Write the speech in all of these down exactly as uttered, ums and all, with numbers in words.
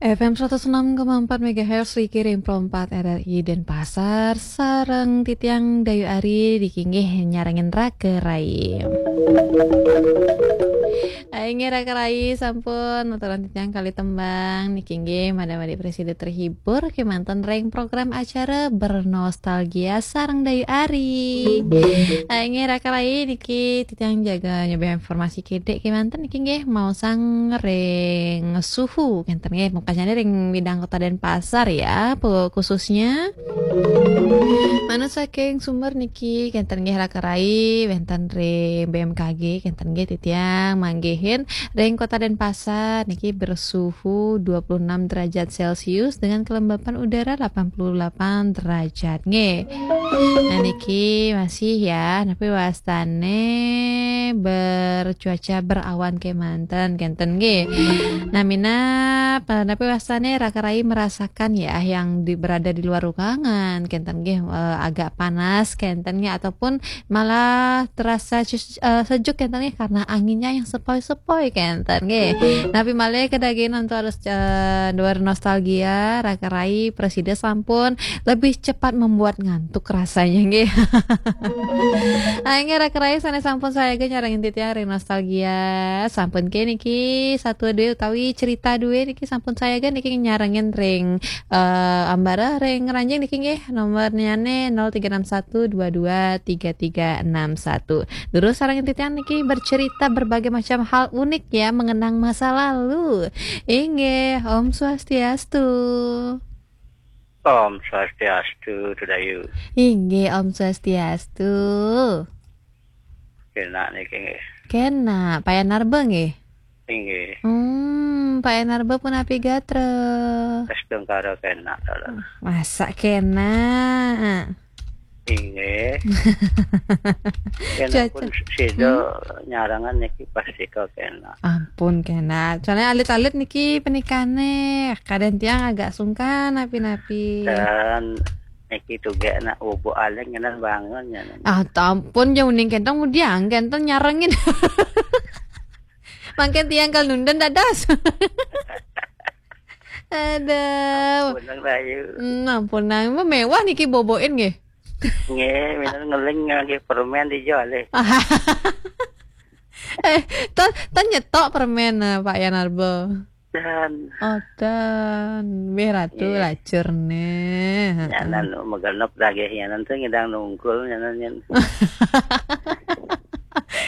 F M seratus enam koma empat megahertz, Riki ring Pro empat R R I Denpasar, sareng titiang Dayu Ari, niki inggih nyarengin Raka Rai. Ah, inggih Raka Rai sampun nuturang titiang kalih tembang, niki inggih mada-mada prasida terhibur kemanten ring program acara Bernostalgia sareng Dayu Ari. Ah, inggih Raka Rai niki titiang jaga nyoba informasi kedik kemanten niki inggih maosang ring suhu kenten nggih, mungkasnya ring bidang Kota Denpasar ya, pu-, khususnya. Manut saking sumber niki kenten nggih Raka Rai, wenten ring B M K G, kenten nggih titiang manggihin ring Kota Denpasar niki bersuhu dua puluh enam derajat Celcius dengan kelembapan udara delapan puluh delapan derajat nggih. Nah, niki masih ya, tapi wastane bercuaca berawan kemanten, kenten nggih. Nah, minab, eh, tapi wastane Raka Rai merasakan ya yang di, berada di luar ruangan, kenten nggih, eh, agak panas, kenten nggih, ataupun malah terasa se-, eh, sejuk, kenten nggih, karena anginnya yang sepoi-sepoi, kenten nggih. Tapi malih kedagingan untuk harus, eh, bernostalgia, Raka Rai prasida sampun lebih cepat membuat ngantuk rasanya nggih. Ayo Raka Rai sane sampun sayaga nyarengin titiang ring nostalgia. Sampun ke niki satu dua utawi cerita dua niki sampun sayaga niki nyarengin ring, eh, ambara ring ranjing niki nggih, nomornyane nol tiga enam satu dua dua tiga tiga enam satu. Durus sarengin titiang niki bercerita berbagai macam hal unik ya mengenang masa lalu. Inggih, Om Swastiastu. Om Swastiastu, Dayu. Inggih, Om Swastiastu. Kena niki nggih. Kena, Pak Yanarba nggih? Inggih. Hmm, Pak Yanarba punapi gatra? Astungkara kena, Dalam. Masa kena? Inggih. Kena Cuaca. Pun sida Hmm. nyarengan niki pasti kok kena. Ampun, kena. Soalnya alit-alit niki penikane. Kadang tiang agak sungkan napi-napi. Dan niki tuge nak ubu aling kena bangun ya. Ah, ampun, jauh ning kentang mudiang, kentang nyarengin. Mangkin tiang kal nunden dadas. Aduh. Ampun, Nang Dayu. Hmm, ampun, Nang. Mewah niki boboin nggih. Nggih, minat ngeling nggih permen dijual eh. Eh, tan, tan nyetok permen, eh, Pak Yanarbo. Dan. Oh, dan. Bih ratu Nggih. Lacur nih. Heeh. Nyanan megenep dagih nyanan tuh ngidang nungkul nyanan nyen.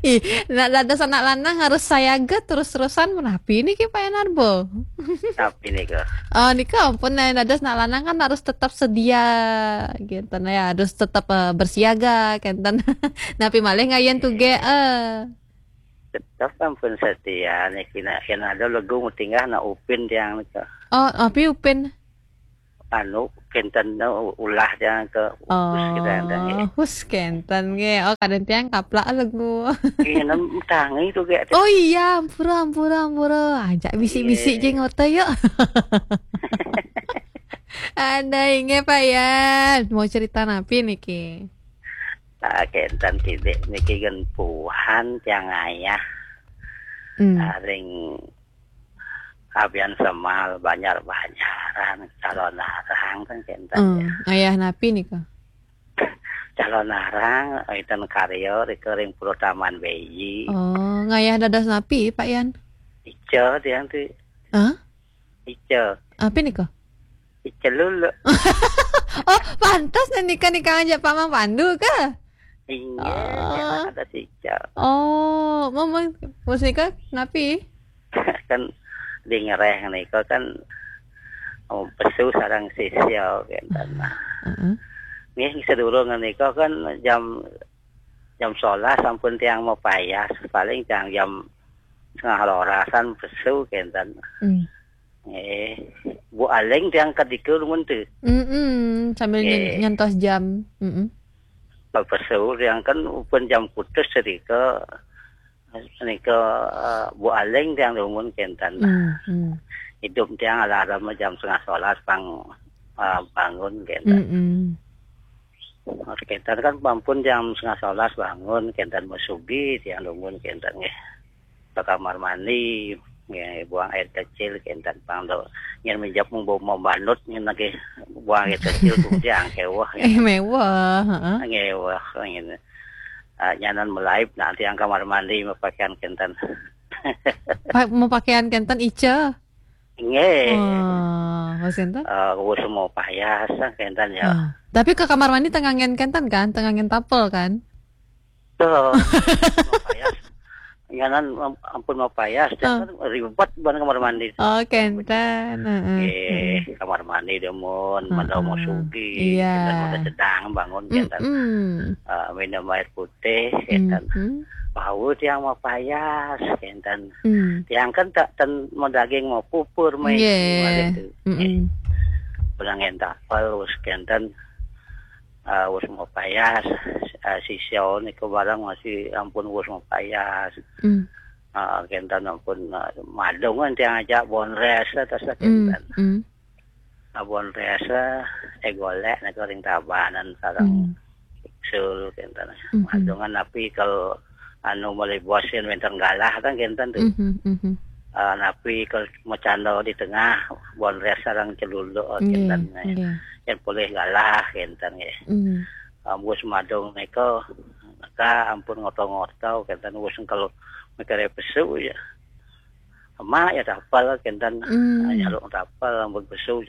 Ih, nak dados anak lanang harus sayaga terus-terusan menapi niki Pak Yanarbo. Tapi nih kok. Oh, nika ampun, nah, dados anak lanang kan harus tetap sedia gitu nah ya, harus tetap, eh, bersiaga kenten. Napi malih ngayen tuge, eh. Tetap ampun setia niki nak yen ada legu mutinggah nak upin tiang nika. Oh, api upin? Anu kenten ulah tiang ke upus kita yang tangi. Oh, hus kenten nggih. Oh, kadang tiang kaplak legu. Iya, nem tangi tu gek. Oh iya, ampura, ampura, ampura. Ajak bisik-bisik Iya. Je ngoto yuk. Ada inggih Pak Yan. Mau cerita napi niki? Ah, kenten titik niki gen puhan tiang ayah. Hmm. Ah, ring Abian Semal, Banjar-Banjaran, Calon Arang kan kenten Hmm, ya. Ayah napi nika? Calon Arang, Iten Karyo, rika ring Pura Taman Beji. Oh, ngayah dados napi, Pak Yan? Ica tiang tu. Hah? Ica. Api nika? Ica lulu. Oh, pantas nih nika nika ngajak Pak Mang Pandu ke? Inggih, Oh. Ada si Ica. Oh, mama, musika napi? Kan di ngereh nika kan, oh, pesu sareng sisya kenten. Heeh. Nggih, sedurung nika kan jam, jam sebelas sampun tiang mapayas, paling tiang jam setengah lolasan pesu kenten. Hmm. Eh, Bu Aling tiang kedika rumun tu. Mm-mm, sambil nyen-, Eh. nyentos jam. Mm-mm. Pesu tiang kan pun jam putus sedika nika, eh, Bu Aling tiang rumun kenten. Hmm, hmm. Hidup tiang alarm jam setengah sebelas pang, eh, bangun kenten. Mm-mm. Kenten kan ampun jam setengah sebelas bangun kenten masugi tiang rumun kenten nggih. Ke kamar mandi. Nggih, buang air kecil kinten pang do. Yen minjap mung bau membanut nyen lagi buang air kecil kemudian kewah. Eh, mewah, heeh. Nggih, wah, ngene. Ah, nyanan melaib nanti yang kamar mandi mepakaian kinten. Pak, mau pakaian kenten ica. Nggih. Wah, Mas Kenten? Eh, wis mau payas kinten ya. Ah. Tapi ke kamar mandi tengah ngen kenten kan, tengah ngen tapel kan? Tuh, mau payas. Nyanan am- ampun mau payas, Ah. Kan ribet ban kamar mandi. Oh, kenten. Heeh. Eh, kamar mandi demun, Heeh. Madau mau sugi, Iya. Kinten udah sedang bangun, kinten. Mm-mm. Eh, minum air putih, kinten. Mhm. Bau tiang mau payas, kinten. Mm. Tiang kan tak ten mau daging mau pupur, mai Nggih. kemarin tu. Mm-mm. Udah ngen tapel, wis kinten. Ah, wis mau payas, ah, sisio niku barang masih ampun wis mau payas. Mm. Ah, kinten ampun, ah, madungan tiang aja bonres atas lah Mm. kinten. Mm. Ah, bonres, eh, golek niku ring tabanan sareng Mm. sul kinten. Mhm. Madungan napi kalau anu melih bos yen wenten galah kan kinten tu. Mhm, mhm. Ah, napi kalau macando di tengah bonres sareng celuluk Nggih, kinten. nggih. Yen boleh galah kinten nggih. Mm. Ambus madung nika ka ampun ngoto-ngoto kinten wis engkel mikire pesu ya. Emak ya tapel kinten. Mm. Nyaluk tapel ampun pesu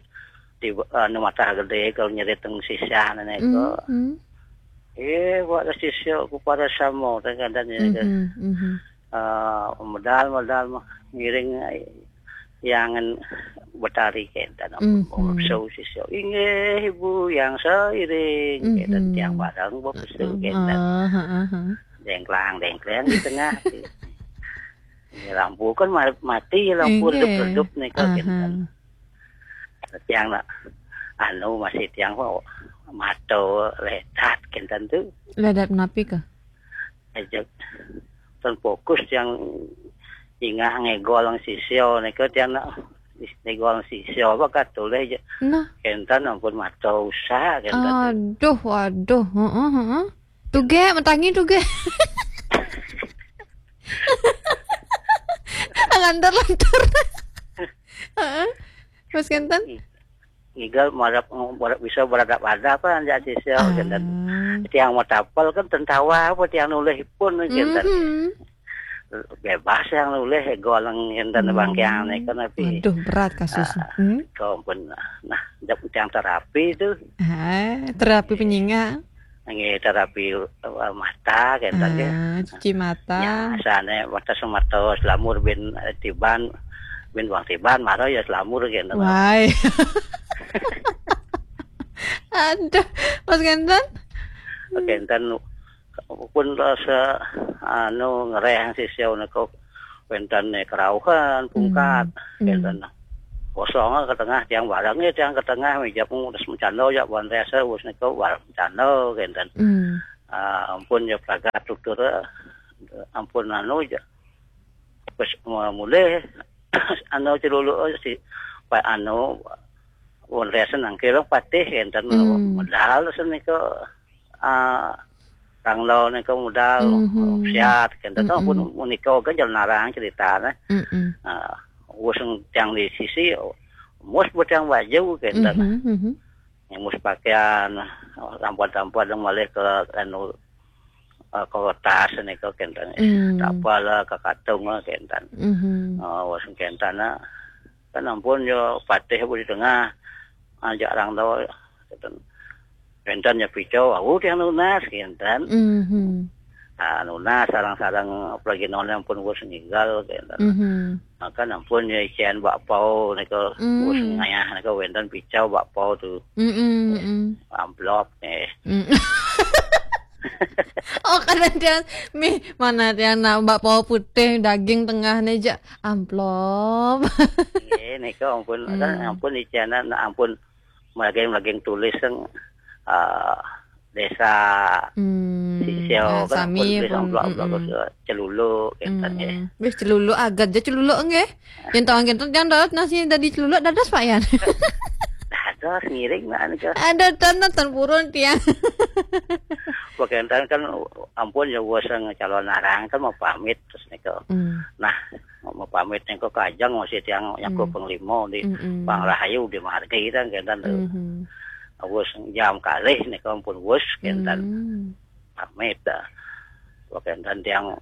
di anu mata gede kalau nyerit teng sisah nika. Mm, mm. Eh, buat sisio ku para samo teng kandan ya. Mhm, mhm. Ah, medal-medal mah ngiring yang betari kinten. Mhm. Pesu sisio. Inggih ibu yang seiring kinten Mhm. Tiang bareng buat pesu kinten. Ah, ha, ha, ha. Dengklang dengklang di tengah. Ya, lampu kan ma- mati, lampu Inggih. redup-redup nika Aha. kinten. Tiang nak anu masih tiang kok mato ledat kinten tu. Ledat napi ke? Aja ten fokus tiang ingah ngegol ang sisio nika tiang nak ngegol ang sisio apa katulih je. Nah, Kinten ampun mato usah kinten. aduh, waduh, heeh, heeh. Tuge, metangi tuge. Lantur-lantur. Heeh. Mas Kenten? Ngigal marap, marap bisa beradab-adab kan ya sisio kinten. Ah. Tiang mau tapel kan tentawa apa tiang nulih pun kinten. Mhm. Bebas yang nulih goleng kinten Hmm. bangkiang nika napi. Waduh, berat kasus. Hmm? Kau pun nah jap tiang terapi tu. Ah, terapi penyinga. Nggih terapi eh, mata kinten nggih. Ah, cuci mata. Ya, asane mata semata selamur bin eh, tiban bin wang tiban mara ya selamur kinten. Wai. Aduh, Mas Kenten? Kinten pun rasa anu ngereh sisio nika wenten kerauhan pungkat Hmm. kinten. Kosong ke tengah tiang barang ya tiang ke tengah meja pun udah mencando ya buan rasa wis nika barang mencando kinten. Hmm. Ah, ampun ya pragat tutur eh, ampun anu ya. Wis mulih anu celuluk si Pak anu buan rasa nang kira patih kinten Hmm. Medal senika ah Kang Lo nika medal Mhm. Siat kinten Mm-mm. Ampun menika kan jalan narang ceritane. Mm-mm. Ah, wis tiang di sisi mus buat yang baju kinten. Mhm, mhm. Yang mus pakaian lampuan-lampuan yang malih ke anu eh, ke tas nika kinten. Hmm. Tapel ke katung kinten. Mhm. Oh, wis kinten kan ampun yo patih di tengah. Ajak orang tahu kinten. Kinten ya pico, aku tiang nunas kinten. Mhm. Ah, nunas sarang-sarang apalagi nona pun wis ninggal kinten. Mhm. Maka ampun ya isian bakpao nika Hmm. wis ngayah nika wenten pico bakpao tu Mm-mm, mm-mm. Amplop nih. Mm. Oh, kadang dia mi mana dia nak bakpao putih daging tengah ni je amplop. Nggih nika ampun Hmm. Kan ampun isian nak ampun melaging-melaging tulis yang ah, desa Hmm. Sisio Ah, kan sami ampun pun, amplop mm-mm. Celuluk kinten ya. Hmm. Wis celuluk agat je celuluk nggih. Yen tawang kenten jangan darat nasi dari celuluk dadas Pak Yan. Dados ngiring nak nika. Ada tan tan purun tiang. Bagian kan ampun ya wis calon narang kan mau pamit terus nika. Hmm. Nah, mapamit nika kajeng masih tiang nyaku Hmm. panglima di Hmm. Pangerahayu di margi kan kenten tu. Hmm. Wus jam kalih nika ampun wus kenten. Hmm. Pamit dah. Wah, kenten tiang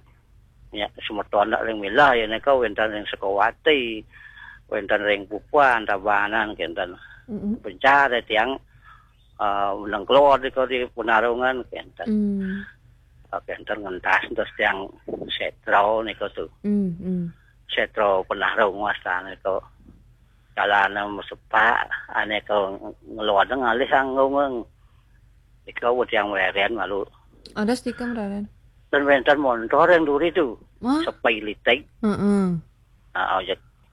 nya semeton ring milah ya nika wenten ring Sukawati, wenten ring Pupuan, Tabanan kenten. Hmm. Bencar ya tiang, eh, nengklor nika di Penarungan kenten. Hmm. Ah, kenten ngentas terus tiang Setra nika tu. Hmm, hmm. Setra Penarung wastane tu. Jalane mesepak, ane ke ngeluar ngalih anggung. Nika wet yang weren malu. Ada stiker meraran. Dan wenten montor yang duri tu. Wah. Sepai litik. Heeh. Ah,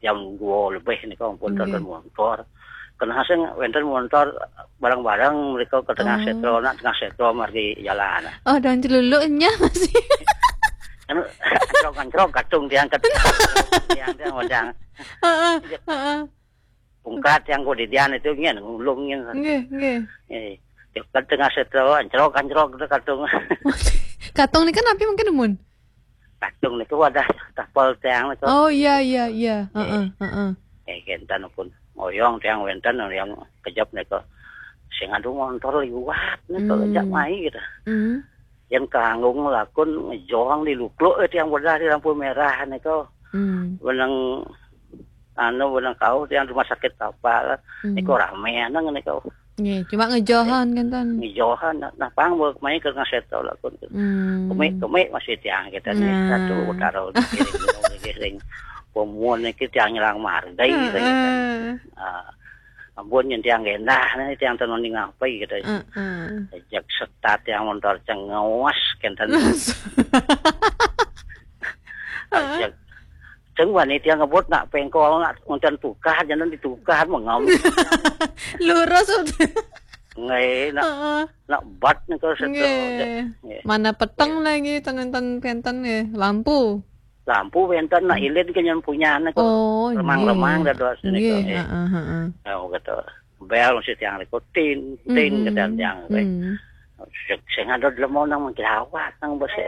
jam dua lebih nika ampun Nggih. Tonton montor. Kena sing wenten montor bareng-bareng mereka ke tengah Oh. Setra, nak tengah Setra margi jalan. Oh, dan celuluknya masih. Anu, ancrok-ancrok katung tiang ket-, tiang, tiang macam. Heeh, heeh. Pungkat yang kau didian itu nyen, ngulung nyen. Nggih, nggih. Eh, dekat tengah Setra, ancrok-ancrok tu katung. Katung ni kan api mungkin nemun? Katung niku wadah tapel tiang niku. Oh, iya, iya, iya. Heeh, heeh. Eh, kenten pun ngoyong tiang wenten yang kejap niku. Sing adu montor liwat niku, hmm, jak mai gitu. Hmm. Yang kanggung lakun ngejong di lukluk, eh, tiang wadah di lampu merah niku. Hmm. Benang anu, benang kau tiang rumah sakit kapal. Hmm. Niku rame anang niku. Nggih, cuma ngejohan kan, Tan? Ngejohan, nah, nah, pang buat main ke ngaset tau lah, kun. Hmm. Kemik, kemik masih tiang kita ni, nah, satu utara, di kiri, di kiri, ring. Pemuan ni kita tiang nyerang margai, ring. Heeh. Ah, ampun, yang tiang gendah ni, tiang tenun ni ngapai kita. Heeh. Jak setat yang montor cengawas, kenten. Ajak. Ceng wani tiang ngebut nak pengkol, nak ngonten tukar, jangan ditukar, mengam. Lurus udah. Ngai, nak, heeh, nak bat ni kalau setel. Nggih. Nggih. Mana peteng lagi, tenen-tenen penten nggih. Lampu. Lampu penten, nak ilin ke nyen punya, nak. Oh, remang-remang nggih. Dah dua sini nggih, kau, eh. Heeh, heeh. Ya, kata. Bel mesti tiang niku, tin, tin, hmm, kata tiang, eh. Hmm. Sing, sing ada dalam mau nang menjelawat nang besi.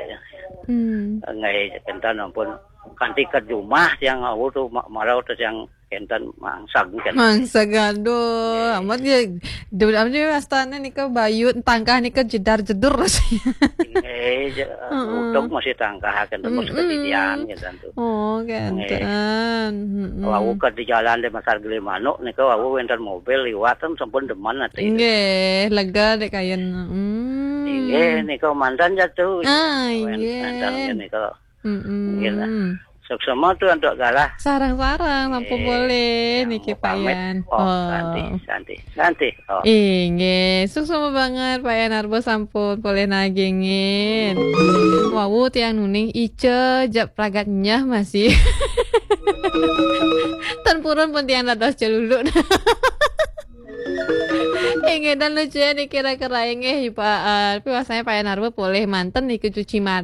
Hmm. Ngai, kenten ampun. Kanti ke rumah tiang, au tu, ma-, marau tu tiang kenten mangsag kan. Mangsag, aduh, nggih. Amat ya, dul-, apa dia, astana ni ke bayut, tangkah ni ke jedar-jedur rasanya. Ngai, je-, heeh, utuk masih tangkah kan, terus, mm-mm, kejadian kan tu. Oh, nggih. Kenten. Mm-mm. Wau ke di jalan di Pasar Gili Manuk niku wau wenten mobil liwat kan sampun demen ati. Nggih, lega dek kayen. Hmm. Nggih, niku mantan jatuh. Ah, wen-, nggih. Mantan niku. Mm-mm. Nggih lah. Suksema tu untuk galah. Sarang-sarang, sampun nggih. Boleh niki, mau pamit. Payan. Oh, oh. Santi, santi. Santi. Oh. Inggih, suksma banget Pak Yan Arbo sampun polih nagingin. Wau tiang nuning ica jak pragat nyah masih. Tan purun pun tiang dados celuluk. Inggih, dan lucu ya dikira-kira inggih, Pak, eh, tapi wasanya Pak Yan Arbo polih manten niku cuci mata.